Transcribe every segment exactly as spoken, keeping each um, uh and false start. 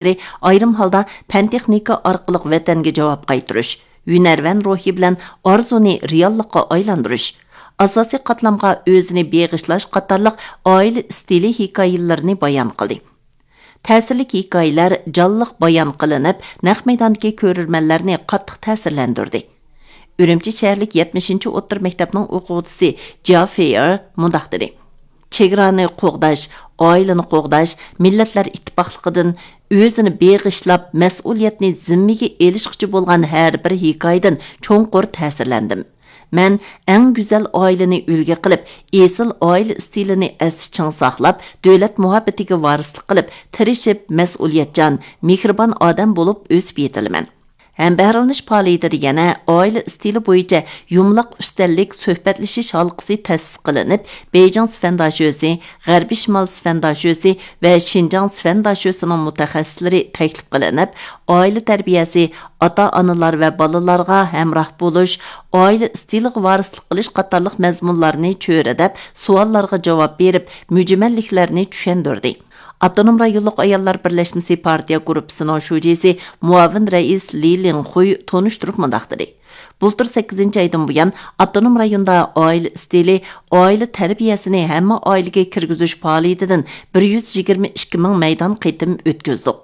ئايرىم ھالدا پەن-تېخنىكا ئارقىلىق ۋەتەنگە جاۋاب قايتۇرۇش، ھۈنەرۋەن روھى بىلەن ئارزۇنى رېئاللىققا ئايلاندۇرۇش، ئاساسىي قاتلامغا ئۆزىنى بېغىشلاش قاتارلىق ئائىلە ئىستىلى ھېكايىلىرىنى بايان قىلدى. تەسىرلىك ھېكايىلەر جانلىق بايان قىلىنىپ، نەق مەيداندىكى كۆرۈرمەنلەرنى قاتتىق تەسىرلەندۈردى. ئۈرۈمچى شەھەرلىك يەتمىشىنچى ئوتتۇرا مەكتەپنىڭ ئوقۇغۇچىسى جيا فېيېر مۇنداق دېدى: «چېگرانى قوغداش، ئائىلىنى قوغداش، مىللەتلەر ئىتتىپاقلىقىدىن ئۆزىنى بېغىشلاپ، مەسئۇلىيەتنى زىممىگە ئېلىشقۇچى بولغان ھەر بىر ھېكايىدىن چوڭقۇر تەسىرلەندىم. مەن ئەڭ گۈزەل ئائىلىنى ئۈلگە قىلىپ، ئېسىل ئائىلە ئىستىلىنى ئەستە چىڭ ساقلاپ، دۆلەت مۇھەببىتىگە ۋارىسلىق قىلىپ، تىرىشىپ، مەسئۇلىيەتچان، مېھرىبان ئادەم بولۇپ ئۆسۈپ يېتىلىمەن.» ھەمبەھىرلىنىش پائالىيىتىدە يەنە ئائىلە ئىستىلى بويىچە يۇمىلاق ئۈستەللىك سۆھبەتلىشىش ھالقىسى تەسىس قىلىنىپ، بېيجىڭ سىفەن داشۆسى، غەربىي شىمال سىفەن داشۆسى ۋە شىنجاڭ سىفەن داشۆسىنىڭ مۇتەخەسسىسلىرى تەكلىپ قىلىنىپ، ئائىلە تەربىيەسى، ئاتا-ئانىلار ۋە بالىلارغا ھەمراھ بولۇش، ئائىلە ئىستىلىغا ۋارىسلىق قىلىش قاتارلىق مەزمۇنلارنى چۆرىدەپ، سوئاللارغا جاۋاب بېرىپ، مۈجمەللىكلەرنى چۈشەندۈردى. ئاپتونوم رايونلۇق ئاياللار بىرلەشمىسى پارتىيە گۇرۇپپىسىنىڭ شۇجىسى، مۇئاۋىن رەئىس لى لىڭخۇي تونۇشتۇرۇپ مۇنداق دېدى: «بۇلتۇر سەككىزىنچى ئايدىن بۇيان، ئاپتونوم رايوندا ئائىلە ئىستىلى، ئائىلە تەربىيەسىنى ھەممە ئائىلىگە كىرگۈزۈش پائالىيىتىدىن بىر يۈز يىگىرمە ئىككى مىڭ مەيدان قېتىم ئۆتكۈزدۇق.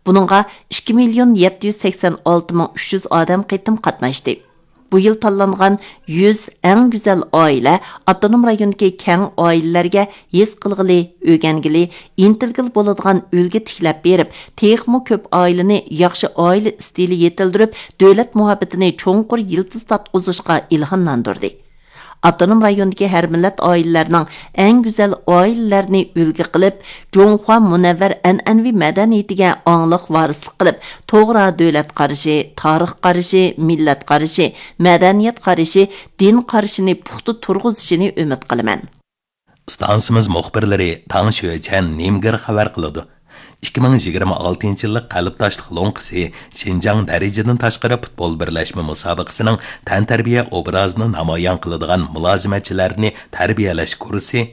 بۇنىڭغا ئىككى مىليون يەتتە يۈز سەكسەن ئالتە مىڭ ئۈچ يۈز ئادەم قېتىم قاتناشتى. بۇ يىل تاللانغان يۈز ئەڭ گۈزەل ئائىلە ئاپتونوم رايوندىكى كەڭ ئائىلىلەرگە ھېس قىلغىلى، ئۆگەنگىلى، ئىنتىلگىلى بولىدىغان ئۈلگە تىكلەپ بېرىپ، تېخىمۇ كۆپ ئائىلىنى ياخشى ئائىلە ئىستىلى يېتىلدۈرۈپ، دۆلەت مۇھەببىتىنى چوڭقۇر يىلتىز تارتقۇزۇشقا ئىلھاملاندۇردى.» ئاپتونوم رايوندىكى ھەر مىللەت ئائىلىلەرنىڭ ئەڭ گۈزەل ئائىلىلەرنى ئۈلگە قىلىپ، جۇڭخۇا مۇنەۋۋەر ئەنئەنىۋى مەدەنىيىتىگە ئاڭلىق ۋارىسلىق قىلىپ، توغرا دۆلەت قارىشى، تارىخ قارىشى، مىللەت قارىشى، مەدەنىيەت قارىشى، دىن قارىشىنى پۇختا تۇرغۇزۇشىنى ئۈمىد قىلىمەن. ئىستانسىمىز مۇخبىرلىرى تاڭ شۆچەن نىمگېر خەۋەر قىلىدۇ. ئىككى مىڭ يىگىرمە ئالتىنچى يىللىق قەلبداشلىق لوڭقىسى شىنجاڭ دەرىجىدىن تاشقىرى پۇتبول بىرلەشمە مۇسابىقىسىنىڭ تەنتەربىيە ئوبرازىنى نامايان قىلىدىغان مۇلازىمەتچىلەرنى تەربىيەلەش كۇرسى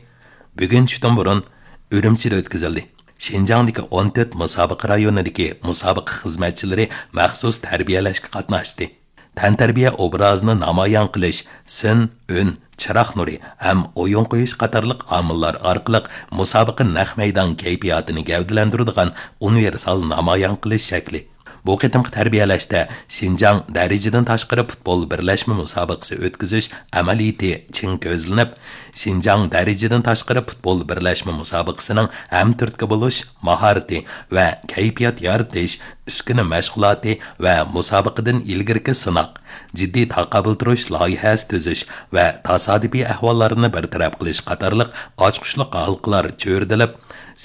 بۈگۈن چۈشتىن بۇرۇن ئۈرۈمچىدە ئۆتكۈزۈلدى. شىنجاڭدىكى ئون تۆت مۇسابىقە رايونىدىكى مۇسابىقە خىزمەتچىلىرى مەخسۇس تەربىيەلەشكە قاتناشتى. تەنتەربىيە ئوبرازىنى نامايان قىلىش، سىن، ئۈن، چىراغ نۇرى ھەم ئويۇن قويۇش قاتارلىق ئامىللار ئارقىلىق مۇسابىقە نەق مەيدان كەيپىياتىنى گەۋدىلەندۈرىدىغان ئۇنىۋېرسال نامايان قىلىش شەكلى. بۇ قېتىمقى تەربىيەلەشتە شىنجاڭ دەرىجىدىن تاشقىرى پۇتبول بىرلەشمە مۇسابىقىسى ئۆتكۈزۈش ئەمەلىيىتى چىڭ كۆزلىنىپ، شىنجاڭ دەرىجىدىن تاشقىرى پۇتبول بىرلەشمە مۇسابىقىسىنىڭ ھەمتۈرتكە بولۇش ماھارىتى ۋە كەيپىيات يارىتىش، ئۈسكۈنە مەشغۇلاتى ۋە مۇسابىقىدىن ئىلگىرىكى سىناق، جىددىي تاقابىل تۇرۇش لايىھەسى تۈزۈش ۋە تاسادىپىي ئەھۋاللارنى بىر تەرەپ قىلىش قاتارلىق ئاچقۇچلۇق ھالقىلار چۆرىدىلىپ،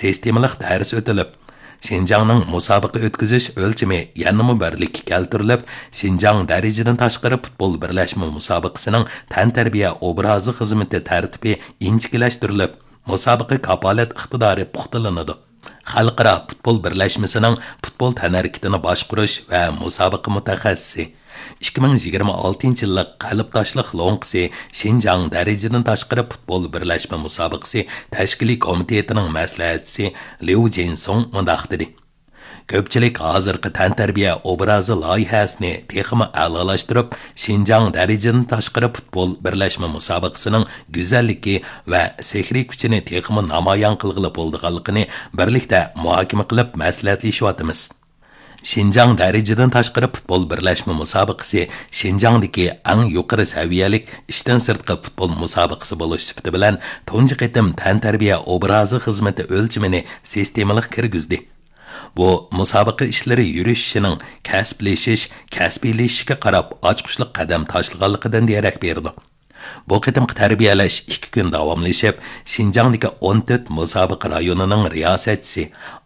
سىستېمىلىق دەرس ئۆتۈلۈپ، شىنجاڭنىڭ مۇسابىقە ئۆتكۈزۈش ئۆلچىمى يەنىمۇ بىرلىككە كەلتۈرۈلۈپ، شىنجاڭ دەرىجىدىن تاشقىرى پۇتبول بىرلەشمە مۇسابىقىسىنىڭ تەنتەربىيە ئوبرازى خىزمىتى تەرتىپى ئىنچىكىلەشتۈرۈلۈپ، مۇسابىقە كاپالەت ئىقتىدارى پۇختىلىنىدۇ. خەلقئارا پۇتبول بىرلەشمىسىنىڭ پۇتبول تەنھەرىكىتىنى باشقۇرۇش ۋە مۇسابىقە مۇتەخەسسىسى، ئىككى مىڭ يىگىرمە ئالتىنچى يىللىق قەلبداشلىق لوڭقىسى شىنجاڭ دەرىجىدىن تاشقىرى پۇتبول بىرلەشمە مۇسابىقىسى تەشكىلىي كومىتېتىنىڭ مەسلىھەتچىسى ليۇ جىنسۇڭ مۇنداق دېدى: كۆپچىلىك ھازىرقى تەنتەربىيە ئوبرازى لايىھەسىنى تېخىمۇ ئەلالاشتۇرۇپ، شىنجاڭ دەرىجىدىن تاشقىرى پۇتبول بىرلەشمە مۇسابىقىسىنىڭ گۈزەللىكى ۋە سېھرىي كۈچىنى تېخىمۇ نامايان قىلغىلى بولىدىغانلىقىنى بىرلىكتە مۇھاكىمە قىلىپ مەسلىھەتلىشىۋاتىمىز. شىنجاڭ دەرىجىدىن تاشقىرى پۇتبول بىرلەشمە مۇسابىقىسى شىنجاڭدىكى ئەڭ يۇقىرى سەۋىيەلىك ئىشتىن سىرتقى پۇتبول مۇسابىقىسى بولۇش سۈپىتى بىلەن تۇنجى قېتىم تەنتەربىيە ئوبرازى خىزمىتى ئۆلچىمىنى سىستېمىلىق كىرگۈزدى. بۇ مۇسابىقە ئىشلىرى يۈرۈشۈشىنىڭ كەسىپلىشىش، كەسپىيلىشىشكە قاراپ ئاچقۇچلۇق قەدەم تاشلىغانلىقىدىن دېرەك بېرىدۇ. بۇ قېتىمقى تەربىيەلەش ئىككى كۈن داۋاملىشىپ، شىنجاڭدىكى ئون تۆت مۇسابىقە رايونىنىڭ رىياسەتچىسى،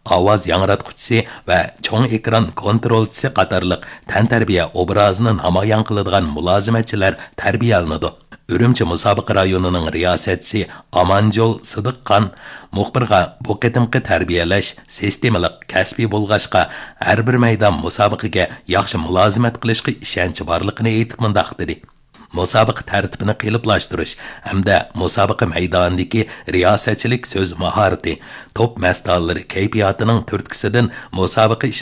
ئاۋاز ياڭراتقۇچىسى ۋە چوڭ ئېكران كونترولچىسى قاتارلىق تەنتەربىيە ئوبرازىنى نامايان قىلىدىغان مۇلازىمەتچىلەر تەربىيەلىنىدۇ. ئۈرۈمچى مۇسابىقە رايونىنىڭ رىياسەتچىسى ئامانجول سىدىقخان مۇخبىرغا بۇ قېتىمقى تەربىيەلەش سىستېمىلىق، كەسپىي بولغاچقا، ھەر بىر مەيدان مۇسابىقىگە ياخشى مۇلازىمەت قىلىشقا ئىشەنچى بارلىقىنى ئېيتىپ مۇنداق دېدى: مۇسابىقە تەرتىپىنى قېلىپلاشتۇرۇش ھەمدە مۇسابىقە مەيدانىدىكى رىياسەتچىلىك سۆز ماھارىتى، توپ مەستانىلىرى كەيپىياتىنىڭ تۈرتكىسىدىن مۇسابىقە